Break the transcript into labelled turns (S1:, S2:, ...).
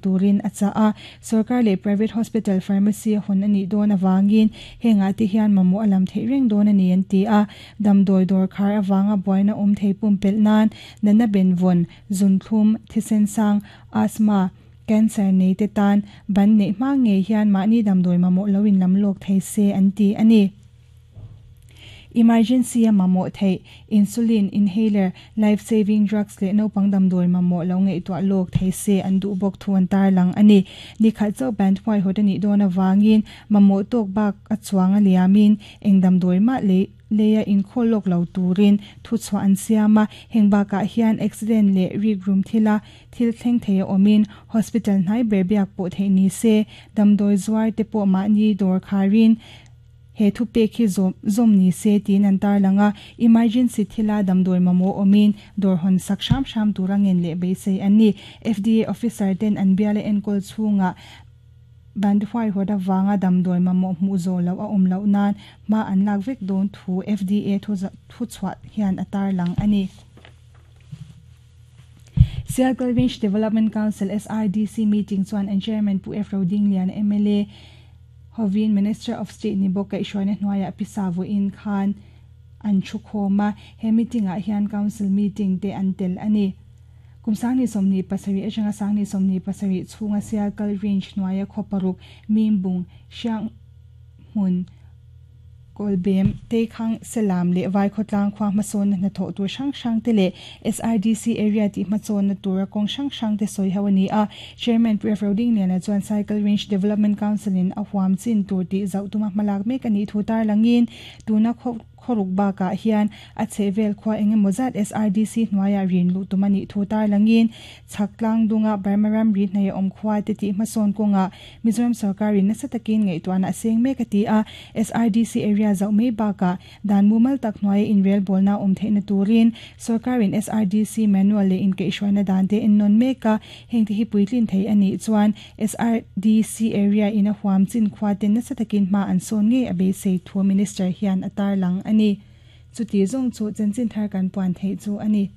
S1: Turin a chah a. Sorkar leh private hospital pharmacy a hawn a nih dawn avangin hengah te hian mamawh a lam theih reng dawn a ni an ti a. Damdawi dawr khar avanga buaina awm thei pumpelh nan natna benvawn, zunthlum, thisen sang, asthma, cancer nei te tan ban neih hma ngei hian mahni damdawi mamawh lo in lam lawk thei se an ti a ni. Emergency a mamawh theih, insulin, inhaler, life saving drugs leh naupang damdawi mamawh lo ngaihtuah lawk thei se an duh bawk thu an tarlang a ni. Nikhat chauh band huaihawt a nih dawn avangin mamawh tawk bak a chuang a liamin eng damdawi mah lei leia inkhawl lawk lo turin thuchhuah an siam a. Heng bakah hian accident leh rikrum thila thil thleng thei a awmin hospital hnai ber biak pawh theih ni se, damdawi zuar te pawh mahni dawr kharin He thupek hi zawm zawm ni se tiin an tarlang a, emergency thila damdawi mamawh awmin dawr hawn sak hram hram tura ngen leh beisei an ni. FDA officer ten an biala enkawl chhungah bandh huaihawt avanga damdawi mamawh hmuh zawh loh a awm loh nan hma an lak vek dawn thu FDA thuchhuah hian a tarlang a ni. Sialkal Range Development Council, SRDC, meeting chuan an chairman Pu F. Rodingliana mla hovin Minister of State ni bawk kaihhruaina hnuaiah pisa vawiin khan an thu khawm a, he meeting-ah hian Council meeting te an tel a ni. Kum 2027 atanga 2027 chhunga Sialkal Range hnuaia khaw paruk, Mimbung, Hrianghmun, Kawlbem, Teikhang, Selam leh Vaikhawtlang khua hmasawnna hnathawh tur hrang hrang te leh SRDC area tih hmachawnna tura kawng hrang hrang te sawi ho a ni a. Chairman Pu Rev Rodingliana chuan Cycle Range Development Council in a huam chin tur tih zauh tuma hmalak mek a nih thu tarlangin tuna khaw khawruk bakah hian a chhehvel khua eng emaw zat SRDC hnuaiah rin luh tum a nih thu tarlangin chhak tlang dunga Burma ramri hnaih a awm khua te tih hmasawn kawngah Mizoram sorkarin nasa takin ngaihtuahna a seng mek a ti a, SRDC area zauh mai bakah dan mumal tak hnuaia inrelbawlna a awm theihna turin sorkarin SRDC manual leh inkaihhruaina dan te ennawn mek a, hengte hi puitlin thei a nih chuan SRDC area in a huam chin khua ten nasa takin hma an sawn ngei a beisei thu Minister hian a tarlang a ni. Chuti zawng chu chanchin thar kan puan theih chu a ni.